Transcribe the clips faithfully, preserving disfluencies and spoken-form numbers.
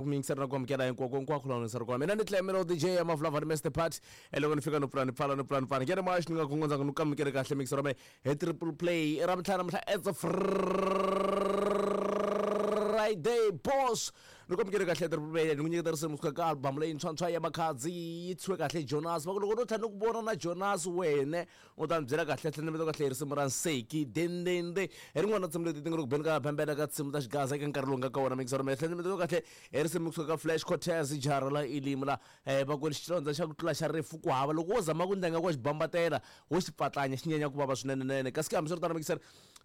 Ku mingiseri na ku amukela hinkwako hinkwako laha ni ri kona. Mina ni Clemelo D J ya Maflava ni Mister Pat. Loko ni fika no pfula ni pfala ni pfula ni pfala. Ngene moya xi ni nga gongondza ni ku amukele kahle mixer wa he triple play. I ra mtlhanu namuntlha it's a Friday boss. Ni ku amukele kahle triple play. Ni ku nyiketa risimu kusuka ka album leyi ntshwantshwa ya Makhadzi yi thyiwe kahle Jonas. Va ku loko no tlhela ni ku vona na Jonas wene u ta ni byela kahle tlhela ni vito kahle risimu ra Nseki dendende. Hi rin'wana ra tinsimu leti ti nga ri ku beni ka bembela ka tinsimu ta xigaza eka nkarhi lowu nga ka wona mixer wa me tlhela ni vito kahle hi risimu kusuka ka Flash Cortez jara la Elim la eh va ku xilondza xa ku tlula xa rifu ku hava loko wo zama ku ndlenga ku xi bambatela wo xi pfatlanya xi nyanya ku vava swinene nene kasi ke hambiswiritano mixer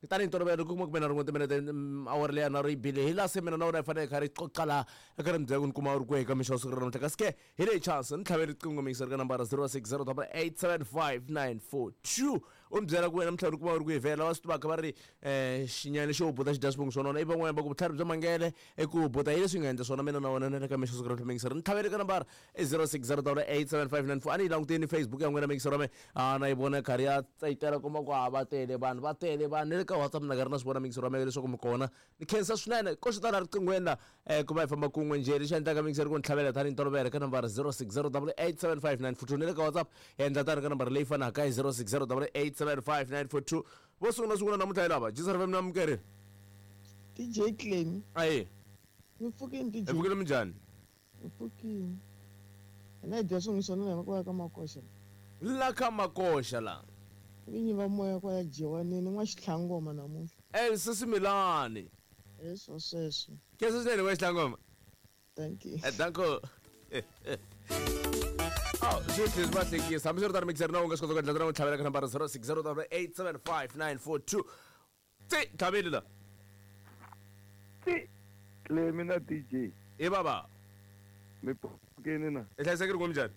tanihi ntolovelo ku kuma ku mina rin'we timinete awara leyi na ri bile hi laha se mina na wena hi fanele hi kha ri qoqa laha eka ri mi byela ku ni kuma u ri kwihi ka mixo wa siku ra namuntlha kasi ke hi leyi chance ni tlhavele riqingho mixer ka nambara zero six zero eight seven five nine four two u ni byela ku wena namuntlha u ri kuma u ri kwihi vhela va swi tivaka va ri um xinyani xo buta xi dya swivongo swo nona i van'wanyana va ku vutlhari bya mangele i ku buta hi leswi nga endla swona mina na wena na le ka mixo siku ra namuntlha mixer ni tlhavele ka nambara i zero six zero eight seven five nine four a ni yi languteni Facebook ya n'wina mixer wa me a na yi vona karhi ya tsayitela kuma ku a va tele vanhu va tele vanhu ni le ka WhatsApp na karhi na swi vona mixer wa me leswaku mi kona ni khensa swinene ko swi tala riqinghweni la um ku va hi famba kun'we njhe lexi endlaka mixer ku ni tlhavela tanihi ntolovelo ka nambara zero six zero eight seven five nine four two ni le ka WhatsApp hi endla tani ka nambara leyi fanaka hi zero six zero eight seven five nine four two vo sungula sungula namuntlha hi lava G S R F M na amukerile D J Clem ayi mi pfukini D J hi pfukile minjhani mi pfukini hina hi dya swin'we swona la kwala ka Makoxa la ka Makoxa la vinyi va moya kwala Jiwanini n'wa Xitlhangoma namuntlha eh sisi Milani leswo sweswo ke sisi ni wa Xitlhangoma thank you eh danko Oh, swi tlhela swi va hlekisa hambiswiritano mixer na u nga swi kota ku endla tana u tlhavela ka nambara zero six zero eight seven five nine four two ti tlhaveli la ti Clemi na D J i baba mi pfukini na hi hlayisekile ku minjhani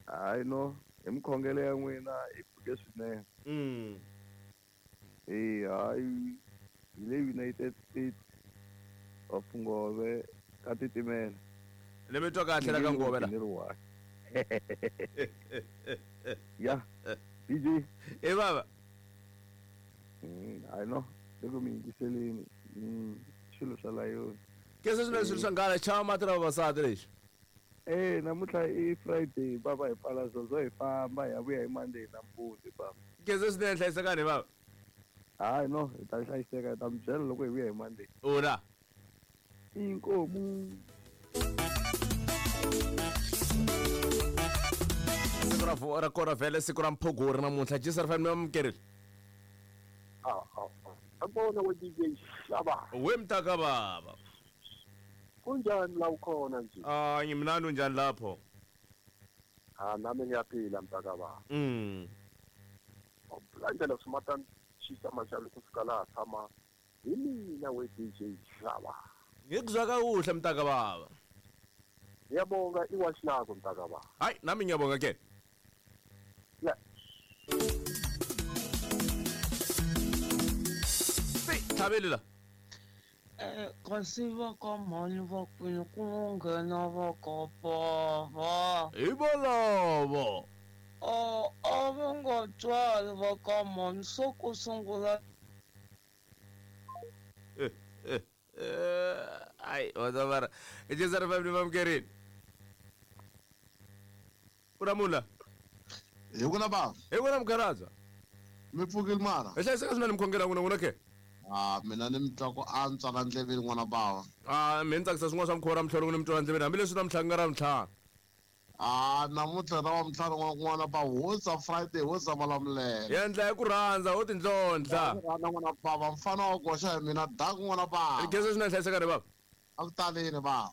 hayi no hi mikhongelo ya n'wina hi pfuke swinene mm eh hayi hi le United States of Ngove ka titimela ni mi twa kahle la ka Ngove la ya D J i baba mm hayi no loko mi yingiseleni swilo swa layoni ke se swilo swa nghala chava mati ra vavasati lexi eh namuntlha i Friday baba hi pfala zozo hi famba hi ya vuya hi Monday nampundzu baba ke se swinene hlayisekani baba hayi no hi ta hlayiseka hi ta mi byela loko hi vuya hi Monday ula inkomu siku ra ra kona vhele siku ra mphogori namuntlha G S R F M amukerile ah ah abona we D J Shaba we mtaka baba kunjani la ukhona nje ah ngimnandi unjani lapho ah nami ngiyaphila mtaka baba mm oblandela sumatan chisa mashalo kufika la tshama hi mina we D J Shaba ngikuzwa kakuhle mtaka baba ngiyabonga iwashi lakho mtaka baba hayi nami ngiyabonga ke yeah tlhaveli la eh kasi va ka mhani va kwini ku nghena va ka bava hi volovo a a va nga twali va ka mhani swo ku sungula ai wazavara G S R F M ni vamukerini u ramula hi ku na bava hi ku na mukharadza mi pfukile mara hi hlayiseka swinene mikhongelo ya n'wina n'wina ke ah mina ni mi twa ku antswa la ndleveni n'wana bava ah mi ni tsakisa swin'wana swa mukhuva ra mtlhelo n'wina mi twa la ndleveni hambileswi namuntlha ku nga ra ntlhanu ah namuntlha ra wa ntlhanu n'wana bava ho za Friday ho za Malamulele hi endla hi ku rhandza ho tindlondla rhandza n'wana bava mfana wa goxa hi mina daku n'wana bava ri khensa swinene hlayiseka ri bava a ku taleni bava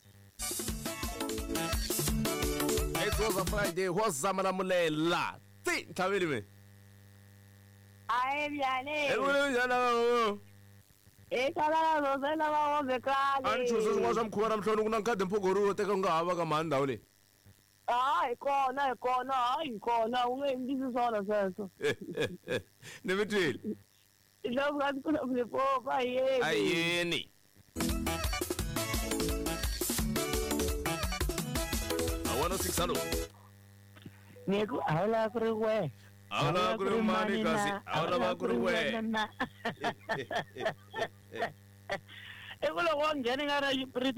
It was a Friday ho za Malamulele ti ntlhaveli mi ayi byane hi vule njhani lava e kala rozela va hombe kale a ni chuza swin'wana swa mukhuva ra mhloni ku na nkhadi mphogori wo teka u nga hava ka mhani ndhawu leyi ah hi kona hi kona hayi hi kona u nge endlisi swona sweswo ni mi twile ilokukatikulaphulepopa yeni ayeni a one oh six hallo ni ku a wu lava ku ri we a wu lava ku ri mani kasi a wu lava ku ri we i ku loko wa nghena nga ra